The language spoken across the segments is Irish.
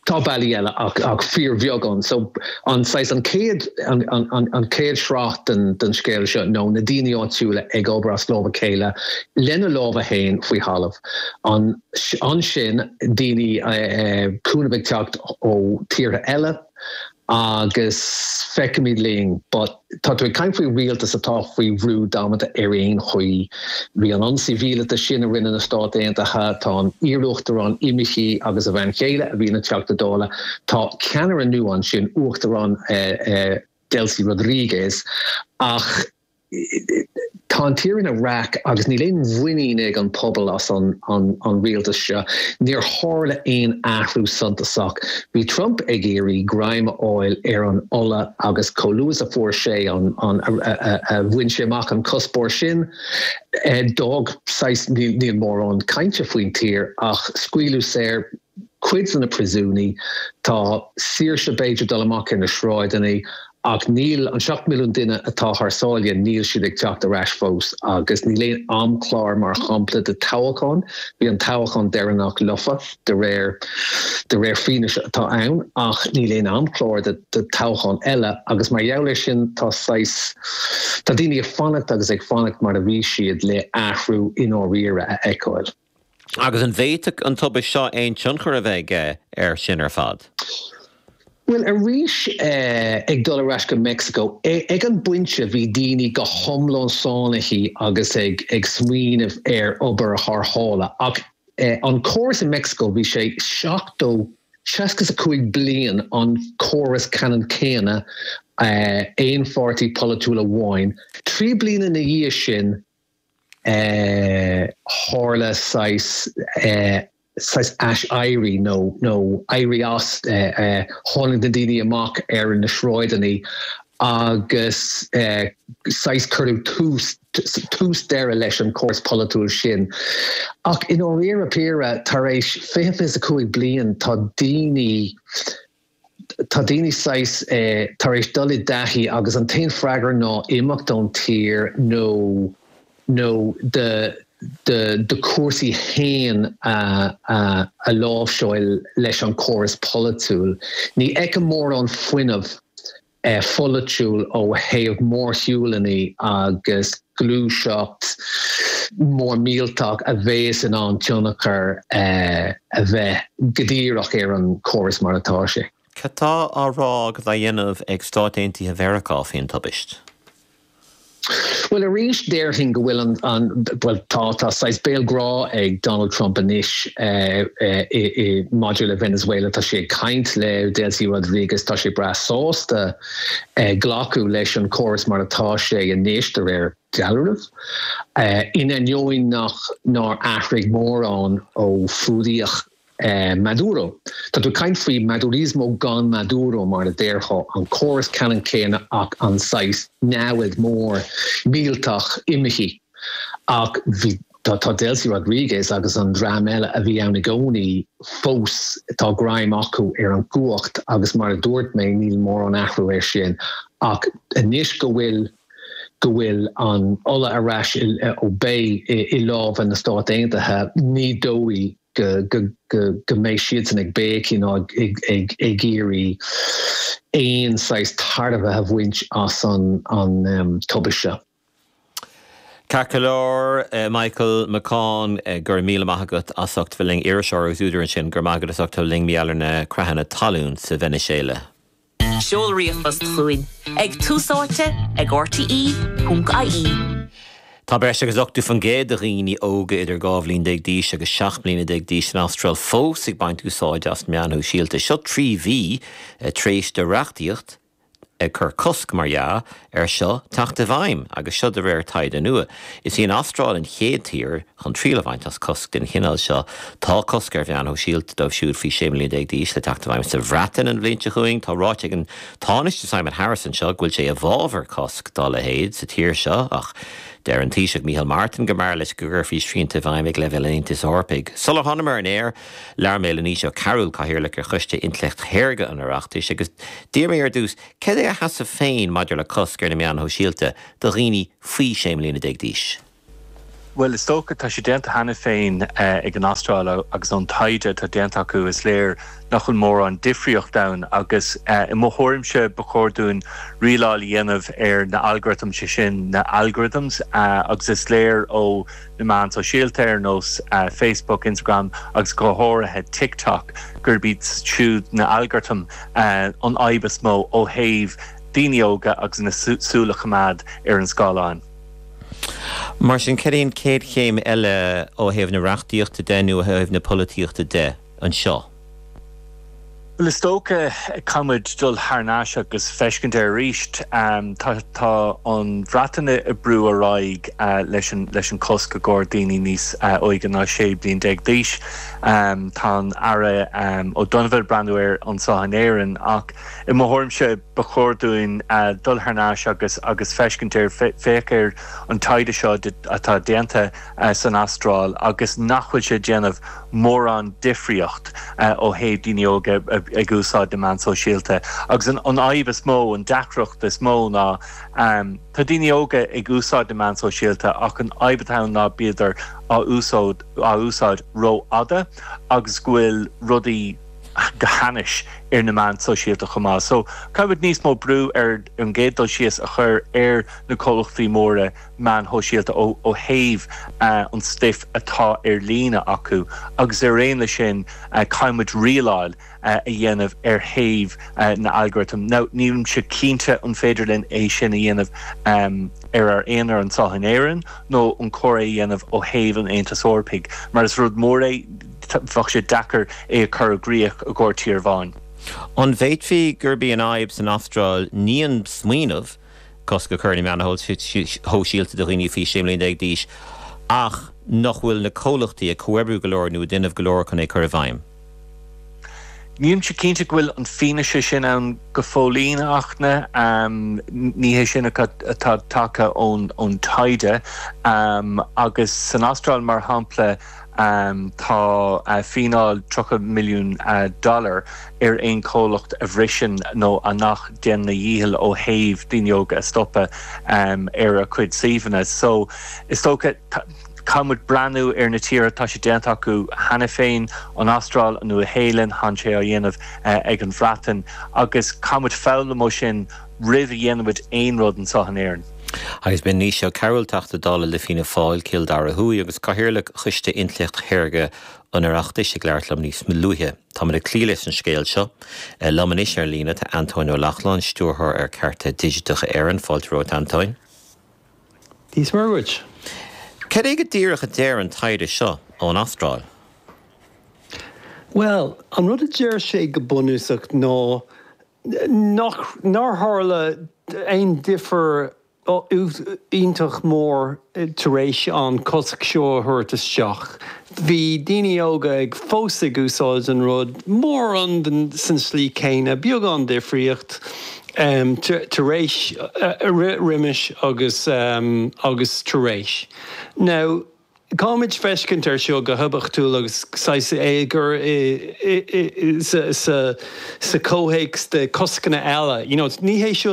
Tá bealaí eile ach ach fíorbheagán. So an saghas an chéad an an an chéad sraith den den scéal seo nó na daoine áitiúla ag obair as lámh a chéile lena lámha féin faoi thalamh. An ansin daoine cúnamh ag teacht ó tíortha eile agus feicfimid linn but tá tú ag caint faoi rialtas atá faoi bhrú damanta ar aon chaoi. Bhí an ionsaí mhíleata sin a rinne na Stáit Aontaithe, tá an iar-uachtarán imithe agus a bhean chéile a bhí ina Teachta Dála, tá ceannaire nua ansin, Uachtarán Delcy Rodriguez ach Tá an tír ina raic agus níl aon mhuinín ag an pobal as an rialtas seo. Níor tharla aon athrú suntasach. Bhí Trump ag iarraidh greim a fháil ar an ola agus chomh luath is a fuair sé an, a bhain sé amach an cuspóir sin, d'fhág saghas, níl mórán cainte faoin tír ach scaoileadh saor cuid de na príosúnaigh, tá saoirse b'fhéidir dul amach ar na sráideanna ach níl, an 7 milliún duine atá thar sáile, níl siad ag teacht ar ais fós agus níl aon amchlár mar shampla de toghachán, bhí an toghachán deireanach lofa de réir de réir fianaise atá ann ach níl aon amchlár de de toghachán eile agus mar gheall air sin tá saghas, tá daoine ag fanacht agus ag fanacht mar a bhí siad le athrú i ndáiríre a fheiceáil. Agus an bhféadfadh an tubaist seo aon tionchar a bheith aige air sin ar fad? Bhuel, arís, ag dul ar ais go Meicsiceo, ag an bpointe bhí daoine go hiomlán sáinnithe agus ag smaoineamh ar obair thar sáile. Ach an córas i Meicsiceo, bhí sé 70, 65 bliain an córas ceannann céanna, aon pháirtí polaitiúil amháin. 3 bliana ina dhiaidh sin, tharla saghas saghas ais-éirí nó nó éirí as, tháinig na daoine amach ar na sráideanna agus saghas cuireadh tús tús deireadh leis an córas polaitiúil sin. Ach i ndáiríre píre, tar éis 20, 25 bliain tá daoine, Tá daoine saghas tar éis dul i dtaithí agus an t-aon freagra ná imeacht ón tír nó nó do do do chúrsaí fhéin a a láimhseáil leis an córas polaitiúil. Ní fheicim mórán fuinneamh pholaitiúil ó thaobh mórshiúlanna agus gluaiseacht mór millteach a bheas in ann tionchar a bheith go díreach ar an chóras mar atá sé. Cad tá á rá agus á dhéanamh ag Stáit Aontaithe Mheiriceá faoin tubaist? Bhuel, arís, déarfainn go bhfuil an, an, bhuel, tá, tá saghas béal grá ag Donald Trump anois i, i, maidir le Venezuela. Tá sé ag caint le Delcy Rodriguez, tá sé breá sásta glacadh leis an córas mar atá sé anois, de réir dealraimh, in ainneoin nach, nár athraigh mórán ó fuadaíodh Maduro. Tá tú ag caint faoi Madurismo gan Maduro, mar a déarfá, an córas ceannann céanna ach an saghas namhaid mór millteach imithe. Ach bhí, tá, tá Delcy Rodriguez agus an dream eile a bhí ann i gcónaí fós, tá greim acu ar an gcumhacht agus mar a dúirt mé, níl mórán athrú air sin. Ach anois go bhfuil, go bhfuil an ola ar ais i, ó beidh i lámha na Stát Aontaithe, ní dóigh go mbeidh siadsan ag béicigh ná ag iarraidh aon saghas tairbhe a bhaint as an tubaist seo. Ceart go leor, Michael McCaughan, go raibh míle maith agat as ucht bheith linn, iriseoir agus údar ansin, go raibh maith agat as ucht bheith linn mar gheall ar na creathanna talún sa Veiniséala. Seol ríomhphost chugainn ag túsáite ag rte.ie. Tá breis agus 80% de dhaoine óga idir 12 bhliain d'aois agus 17 mbliana d'aois san Astráil fós ag baint úsáide as na meáin shóisialta. Seo 3 mhí tar éis do reachtaíocht ag cur cosc, mar dhea, air seo teacht i bhfeidhm, agus seo de réir taighde nua. Is í an Astráil an chéad tír chun triail a bhaint as cosc den chineál seo. Tá cosc ar mheáin shóisialta dóibh siúd faoi 16 mbliana d'aois le teacht i bhfeidhm sa Bhreatain an bhliain seo chugainn. Tá ráite ag an Tánaiste Simon Harris anseo go bhfuil sé i bhfabhar cosc dá leithéid sa tír seo ach deir an Taoiseach Micheál Martin go mb'fhearr leis go gcuirfí srianta i bhfeidhm ag leibhéal an Aontais Eorpaigh. Sular thánamar ar an aer, labhair mé le Naoise Ó Cearúil, Cathaoirleach ar Choiste Intleacht Shaorga an Oireachtais agus d'iarr mé ar dtús céard é a sheasamh féin maidir le cosc ar na meáin shóisialta do dhaoine faoi 16 mbliana d'aois. Bhuel, is dócha, tá sé déanta cheana féin ag an Astráil agus ón taighde atá déanta acu is léir nach bhfuil mórán difríocht ann agus i mo thuairimse ba chóir dúinn rialáil a dhéanamh ar na algorithms, sé sin na algorithms agus is léir ó na meáin sóisialta ar nós Facebook, Instagram agus go háirithe TikTok gurb iad siúd na algorithm an fhadhb is mó ó thaobh daoine óga agus na súil a choimeád ar an scáileán. Mar sin, cad é an chéad chéim eile ó thaobh na reachtaíochta de nó ó thaobh na polaitíochta de anseo? Bhuel, is dócha, caithfidh muid dul thar n-ais agus feiscint air arís. Tá tá an Bhreatain ag brú ar aghaidh leis an leis an cosc i gcomhair daoine níos óige ná 16 bliain d'aois. Tá an Aire O'Donovan ag breathnú air anseo in Éirinn ach i mo thuairimse, Ba chóir dúinn dul thar n-ais agus agus feiscint air, féach ar an taighde seo atá déanta san Astráil agus nach bhfuil sé ag déanamh mórán difríocht ó thaobh daoine óga ag úsáid na meán sóisialta. Agus an fhadhb is mó, an deacracht is mó ná tá daoine óga ag úsáid na meán sóisialta ach an fhadhb atá ann ná bíodar á úsáid á úsáid rófhada agus go bhfuil rudaí go hainnis ar na meáin sóisialta chomh maith. So, caithfidh muid níos mó brú ar an gcéad dul síos a chur ar na comhlachtaí móra meáin shóisialta ó thaobh an stuif atá ar líne acu agus ar aon leis sin caithfidh muid rialáil a dhéanamh ar thaobh na algorithm. Now, nílimse cinnte an féidir linn é sin a dhéanamh ar ár aonar anseo in Éirinn nó an cóir é a dhéanamh ó thaobh an Aontais Eorpaigh mar is rud mór é bheadh sé deacair é a chur i gcrích i gcomhair tír amháin. An bhféadfaí gurb í an fhadhb san Astráil ní an smaoineamh cosc a chur ar na meáin shóisialta do dhaoine faoi 16 mbliana d'aois ach nach bhfuil na comhlachtaí ag comhoibriú go leor nó ag déanamh go leor chun é a chur i bhfeidhm? Nílimse cinnte go bhfuil an fianaise sin ann go fóillín, a Fhachtna. Ní hé sin atá tagtha ón taighde. Agus san Astráil, mar shampla, Tá fíneáil 30 milliún dollar ar aon chomhlacht a bhriseann nó a nach déanann a dhícheall ó thaobh daoine óga a stopadh ar a cuid suíomhanna. So, is dócha, caithfidh muid breathnú ar na tíortha atá sé déanta acu cheana féin, an Astráil, an Nua-Shéalainn, tá sé á dhéanamh ag an Bhreatain, agus caithfidh muid foghlaim ó sin roimh a dhéanann muid aon rud anseo in Éirinn. Agus b'in Naoise Ó Cearúil, Teachta Dála le Fianna Fáil, Cill Dara Thuaidh, agus Cathaoirleach Choiste Intleacht Shaorga an Oireachtais ag labhairt liom níos luaithe. Táimid ag cloí leis an scéal seo. Liom anois ar líne tá Antóin Ó Lochlainn, Stiúrthóir ar Cearta Digiteacha Éireann. Fáilte romhat, Antóin. Dia is Muire dhuit. Cad é go díreach a deir an taighde seo ón Astráil? Bhuel, an rud a deir sé go bunúsach ná nach, nár tharla aon difear iontach mór tar éis an cosc seo a thabhairt isteach. Bhí daoine óga ag fós ag úsáid an rud mórán san slí céanna, beagán difríocht tar éis, roimis agus agus tar éis. Now. Caithfimid feiscint air seo go hoibiachtúil agus saghas é a chur sa chomhthéacs de coscanna eile. You know, ní hé seo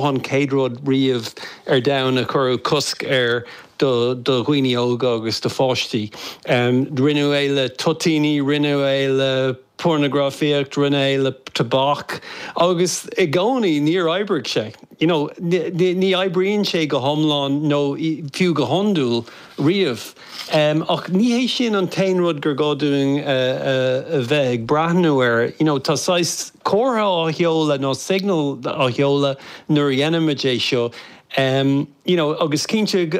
an chéad rud riamh ar domhan a cuireadh cosc air do dhaoine óga agus do pháistí. Rinneadh é le toitíní, rinneadh é le pornagrafaíocht, rinneadh é le tobac agus i gcónaí níor oibrigh sé. You know, ní oibríonn sé go hiomlán nó fiú go hiondúil riamh. Ach ní hé sin an t-aon rud gur gá dúinn a bheith ag breathnú air. You know, tá saghas comhartha á sheoladh nó signal á sheoladh nuair a dhéanaimid é seo. You know, agus cinnte,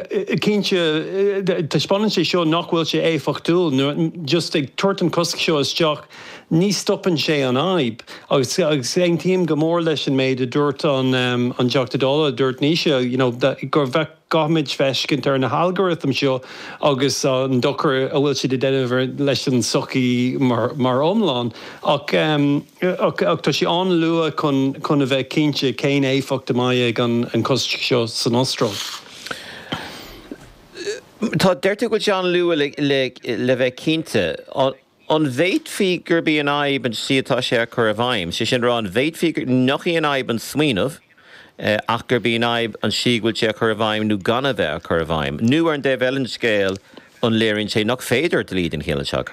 cinnte, taispeánann sé seo nach bhfuil sé éifeachtúil, nuair, just ag tabhairt an cosc seo isteach, ní stopann sé an fhadhb. Agus, agus aontaím go mór leis an méid a dúirt an, an Teachta Dála, a dúirt Naoise, you know, gur bheadh, caithfimid feiscint ar na halgorithm seo agus an dochar a bhfuil siad ag déanamh leis an tsochaí mar, mar iomlán. Ach, Ach tá sé an-luath chun a bheith cinnte cén éifeacht a mbeidh ag an cosc seo san Astráil. Tá, deir tú go bhfuil sé an-luath le bheith cinnte. An bhféadfaí gurb í an fhadhb an tslí atá sé á cur i bhfeidhm? Sé sin a rá, an bhféadfaí nach í an fhadhb an smaoineamh? Ach gurb í an fhadhb an tslí go bhfuil sé á chur i bhfeidhm nó gan a bheith á chur i bhfeidhm. Nó ar an dtaobh eile den scéal, an léiríonn sé nach féidir dlí den chineál seo a chur.